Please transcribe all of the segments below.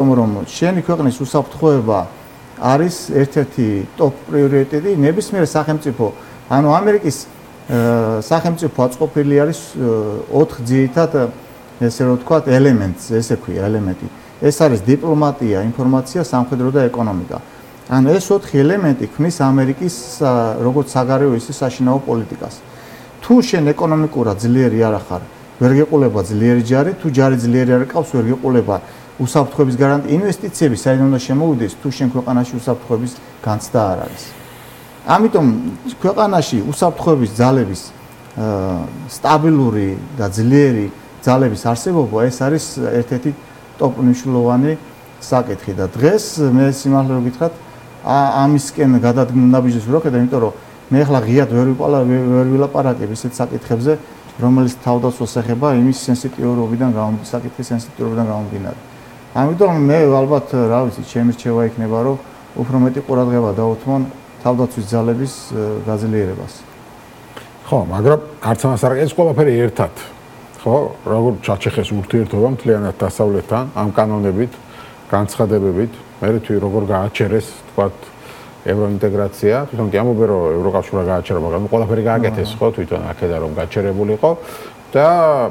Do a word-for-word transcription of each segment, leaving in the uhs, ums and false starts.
რომ შენი ქვეყნის უსაფრთხოება არის ერთ-ერთი ტოპ პრიორიტეტი ნებისმიერ სახელმწიფო, ანუ ამერიკის სახელმწიფო აწყობილი არის ოთხ ძირითად ესე რომ ვთქვათ ელემენტს, ესე ქვია ელემენტი. ეს არის დიპლომატია, ინფორმაცია, სამხედრო და ეკონომიკა. ანუ ეს ოთხი ელემენტი ქმნის ამერიკის როგორც საგარეო ისე საშინაო პოლიტიკას. თუ შენ ეკონომიკურად ძლიერი არ ახარ, ვერ გეყოლება ძლიერი ჯარი, თუ ჯარი ძლიერი არ ყავს, ვერ გეყოლება უსაფრთხოების გარანტია, ინვესტიციები საერთოდ უნდა შემოვიდეს, თუ შენ ქვეყანაში უსაფრთხოების განცდა არ არის. ამიტომ ქვეყანაში უსაფრთხოების ძალების სტაბილური და ძლიერი ძალების არსებობა ეს არის ერთ-ერთი ტოპ მნიშვნელოვანი საკითხი და დღეს მე სიმართლე რომ გითხრათ ამისკენ გადადგმნაბიჯებს ვერ ვხედავ, იმიტომ რომ მე ახლა ღიად ვერ ვერ ვილაპარაკებ ისეთ საკითხებზე, რომელიც თავდაცვას ეხება იმის სენსიტიურობიდან გამომდინარე, საკითხის სენსიტიურობიდან გამომდინარე. ამიტომ მე ალბათ რა ვიცი, ჩემი რჩევა იქნება, რომ უფრო მეტი ყურადღება დავუთმონ თავდაცვის ძალების გაძლიერებას. ხო, მაგრამ არც ამას არ ეს ყველაფერი ერთად. ხო, როგორ ჩაჩეხეს ურთიერთობა მთლიანად დასავლეთთან, ამ კანონებით, განცხადებებით, მე თვითონ როგორ გააჩერეს, თქვათ, ევროინტეგრაცია, თვითონ კი ამბობენ, რომ ევროკავშირმა გააჩერა, მაგრამ ყველაფერი გააკეთეს, ხო, თვითონ აქედან რომ გაჩერებულიყო და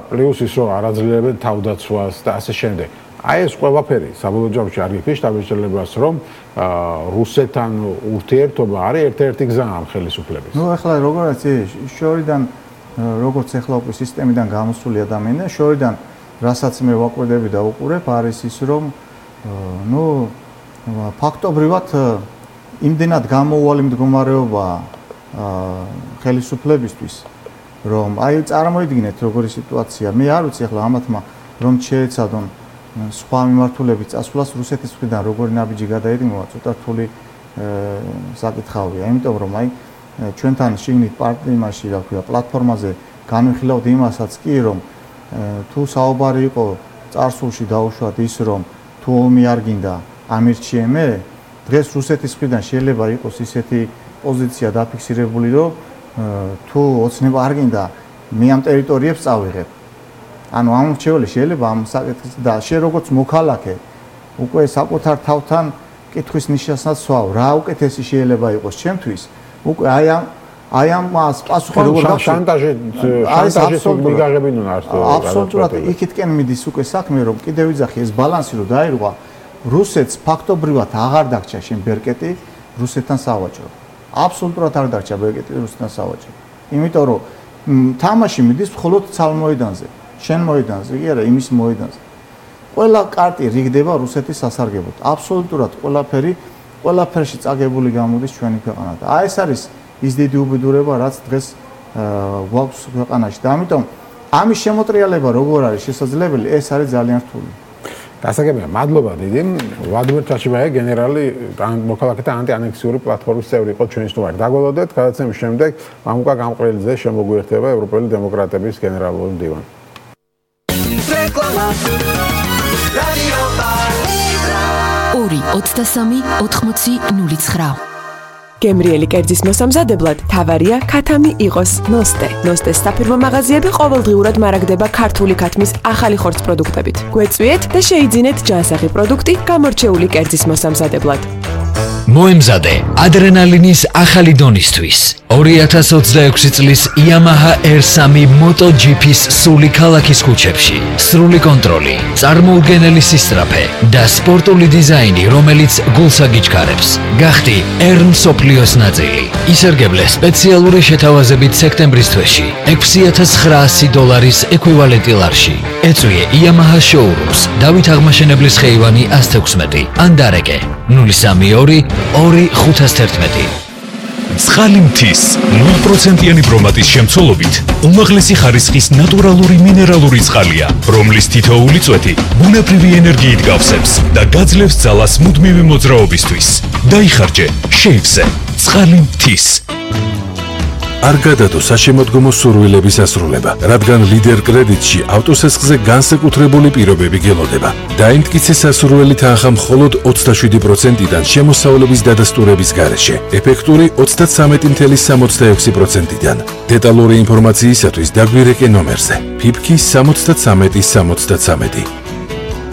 პლუს ის რომ არაძლიერებენ თავდაცვას და ასე შემდეგ. აი ეს ყველაფერი საბოლოო ჯამში არ გიფიშ დამეჭრელებას, რომ რუსეთთან ურთიერთობა არის ერთ-ერთი გზა ამ ხელისუფლების. ნუ ახლა როგორაც შორიდან როგორც ახლა უკვე სისტემიდან გამოსული ადამიანები, შორიდან რასაც მე ვაკვირდები და უყურებ, არის ის, რომ ნუ ფაქტობრივად იმდენად გამოუვალი მდგომარეობა ხელისუფლებისთვის, რომ აი წარმოიდგინეთ როგორი სიტუაცია. მე არ ვიცი ახლა ამათმა რომ შეეცადონ სხვა მიმართულებით წასვლას რუსეთის მხრიდან როგორი ნაბიჯი გადაედინება, ცოტა რთული საკითხავია, იმიტომ რომ აი ჩვენთან შიგნით პარტიიმაში, რა ქვია, პლატფორმაზე განვიხილავთ იმასაც კი, რომ თუ საუბარი იყო წარსულში დაუშვათ ის, რომ თუ ომი არ გინდა ამირჩიე მე, დღეს რუსეთის მხრიდან შეიძლება იყოს ისეთი პოზიცია დაფიქსირებული, რომ თუ ოცნება არ გინდა მე ამ ტერიტორიებს წავიღებ. ანუ ამ რჩეველი შეიძლება ამ საკითხის და შენ როგორც მოქალაქე უკვე საკუთარ თავთან კითხვის ნიშანსაც სვავ, რა უკეთესი შეიძლება იყოს ჩემთვის, უკვე აი ამ აი ამას პასუხი როგორ გახსოვს? შანტაჟი შანტაჟი მიგაღებინონ არტო. აბსოლუტურად იქითკენ მიდის უკვე საქმე, რომ კიდევ ვიძახი ეს ბალანსი რომ დაირღვა, რუსეთს ფაქტობრივად აღარ დარჩა შენ ბერკეტი რუსეთთან სავაჭრო. აბსოლუტურად არ დარჩა ბერკეტი რუსეთთან სავაჭრო. იმიტომ რომ თამაში მიდის მხოლოდ ცალმოედანზე. შენ მოედანზე, კი არა, იმის მოედანზე. ყველა კარტი რიგდება რუსეთის სასარგებლოდ. აბსოლუტურად ყველაფერი, ყველაფერში წაგებული გამოდის ჩვენი ქვეყანა. და აი ეს არის ის დიდი უბედურება, რაც დღეს გვაქვს ქვეყანაში. და ამიტომ ამის შემოტრიალება როგორ არის შესაძლებელი, ეს არის ძალიან რთული. გასაგებია, მადლობა დიდი. ვლადიმერ ჩაჩიბაია, გენერალი მოქალაქეთა ანტიანექსიური პლატფორმის წევრი იყო ჩვენი სტუმარი. დაგველოდეთ, გადაცემის შემდეგ მამუკა გამყრელიძე შემოგვიერთება ევროპელი დემოკრატების გენერალური მდივანი. ორი ოცდასამი ოთხმოცი ნული ცხრა. გემრიელი კერძის მოსამზადებლად თავარია ქათამი იყოს ნოსტე. ნოსტეს საფირმო მაღაზიები ყოველდღიურად მარაგდება ქართული ქათმის ახალი ხორცს პროდუქტებით. გვეწვიეთ და შეიძინეთ ჯანსაღი პროდუქტი გამორჩეული კერძის მოსამზადებლად. მოემზადე ადრენალინის ახალი დონისთვის. ორი ათას ოცდაექვსი წლის Yamaha R three MotoGP-ს სული ქალაქის ქუჩებში. სრული კონტროლი, წარმოუდგენელი სისწრაფე და სპორტული დიზაინი, რომელიც გულს აგიჩქარებს. გახდი R მსოფლიოს ნაწილი. ისერგებლე სპეციალური შეთავაზებით სექტემბრის თვეში ექვსი ათას ცხრაასი დოლარის ეკვივალენტი ლარში. ეწვიე Yamaha showrooms, დავით აღმაშენებლის ხეივანი ას თექვსმეტი. ან დარეკე ნული სამი ორი ორი ხუთას თერთმეტი. ცხალი მთის ნულ პროცენტიანი ბრომატის შემცველობით უმაღლესი ხარისხის ნატურალური მინერალური წყალია, რომლის თითოეული წვეთი ბუნებრივი ენერგიით გავსებს და გაძლევს ძალას მუდმივი მოძრაობისთვის. დაიხარჯე შეივსე ცხალი მთის. არ გადადო საშემოდგომო სურვილების ასრულება, რადგან ლიდერ კრედიტში ავტოსესხზე განსაკუთრებული პირობები გელოდება. დაიმტკიცე სასურველი თანხა მხოლოდ ოცდაშვიდი პროცენტიდან შემოსავლების დადასტურების გარეშე, ეფექტური ოცდათვრამეტი წუთი სამოცდაექვსი პროცენტიდან. დეტალური ინფორმაციისათვის დაგვირეკე ნომერზე. ფიფკი სამოცდათვრამეტი სამოცდათვრამეტი.